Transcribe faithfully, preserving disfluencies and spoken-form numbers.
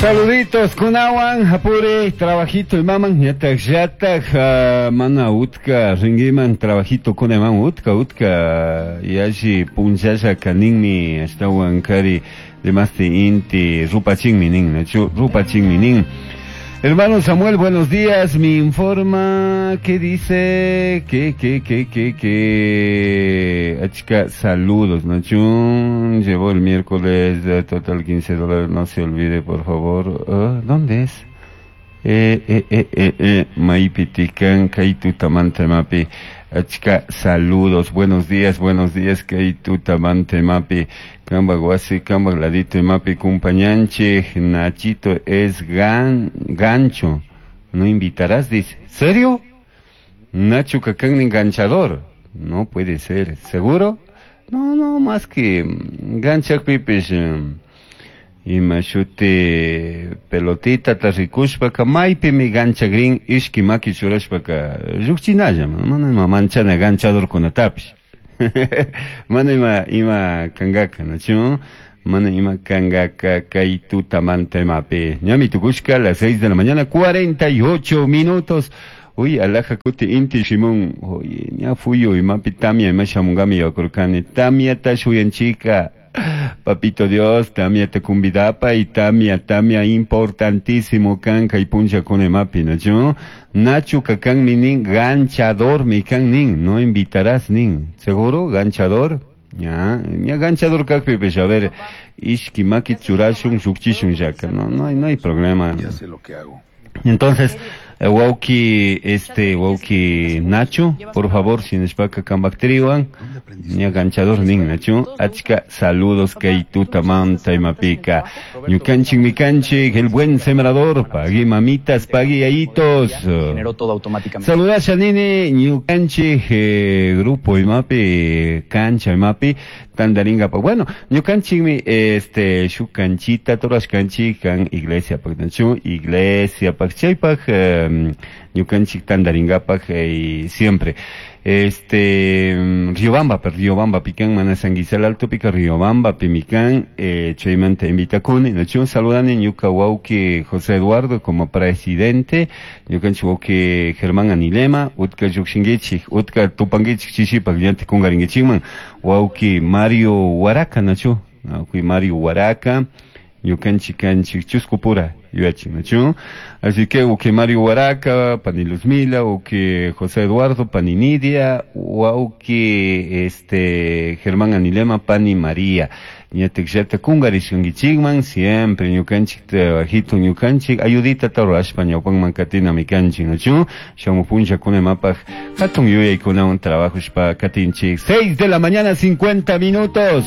Saluditos kunawan apure trabajito imaman yatak yatak uh, mana utka ringiman trabajito kunaman utka utka yashi punchasha kaninmi ashtawan kari demasti inti rupachinmi nin nachu rupachinmi nin. Hermano Samuel, buenos días. Me informa que dice que, que, que, que, que. Achka, saludos, Nachun. Llevó el miércoles de total quince dólares. No se olvide, por favor. Uh, ¿Dónde es? Eh, eh, eh, eh, eh. Maipitican, Kaitu Tamante Mapi. Achka, saludos. Buenos días, buenos días, Kaitu Tamante Mapi. Kamba guasi, kamba ladito mapi cumpañanche, Nachito es gan, gancho. No invitarás, dice. ¿Serio? Nacho Cacán enganchador. No puede ser. ¿Seguro? No, no, más que gancha pipis. Ima shuti pelotita tarikushpaka maypimi ganchagrin ishki maki churashpaka llukchinalla mana ima manchana ganchadorkunatapish. Mana ima ima kangaka nachu mana ima kangaka kay tutamanta imapi ñami tukushka las seis de la mañana cuarenta y ocho minutos. Uy, alaja kuti inti shimon, oye, ña fuyo imapi tamia ima shamungami yakurkani tamia ta shuyanchika. Papito Dios, tamia te cumbidapa y tamia, tamia importantísimo kanka y puncha con emapi, ¿no? Nacho kakan minin, ganchador mi kan nin, no invitarás nin, ¿seguro? ¿Ganchador? Ya, ya ganchador kakpi, pues a ver, ishki maki churashun, shukchishun yaka, no, no hay, no hay problema. Ya sé lo que hago. Entonces, wauki, este, wauki Nacho, por favor, si nishpaka kambaktriwan, ña ganchador nin Nacho, achka saludos kay tutamanta imapika. Ñukanchik mikanchik, el buen sembrador, pagui mamitas, pagui yayitos. Generó todo automáticamente. Saludasha nini, ñukanchik, eh, grupo imapi, cancha imapi, tandaringa pa. Bueno, ñukanchik mi, este, shukanchita, toras kanchik, kan iglesia pak, Nacho, iglesia pak, chaypak, eh, ñukanchik tandaringapak, eh, siempre. Este, Riobamba, per Riobamba, pican, mana Sanguizal Alto, pica Riobamba, pimican, eh, chaymanta invitakuni, nachu, saludani, ñuka wauki José Eduardo como presidente, ñukanchik wauki Germán Anilema, utka llukshinguichik, utka tupanguichik chishipak, llanti kungaringuichikman, wauki Mario Huaraca, nachu, wauki Mario Huaraca, ñukanchik kanchik chuscupura, yuyachin, nachu. Así que, uki Mario Huaraca, pani Luzmila, uki José Eduardo, pani Nidia, wauki, este, Germán Anilema, pani María. Ñatik llata kungarishkankichikman, siempre ñukanchik trabajito ñukanchik, ayudita tarashpa ñawpanman katina mikanchik, nachu. Shamu puncha kunemapaj, hatun yuyaykunawan trabajushpa katinchik. Seis de la mañana, cincuenta minutos.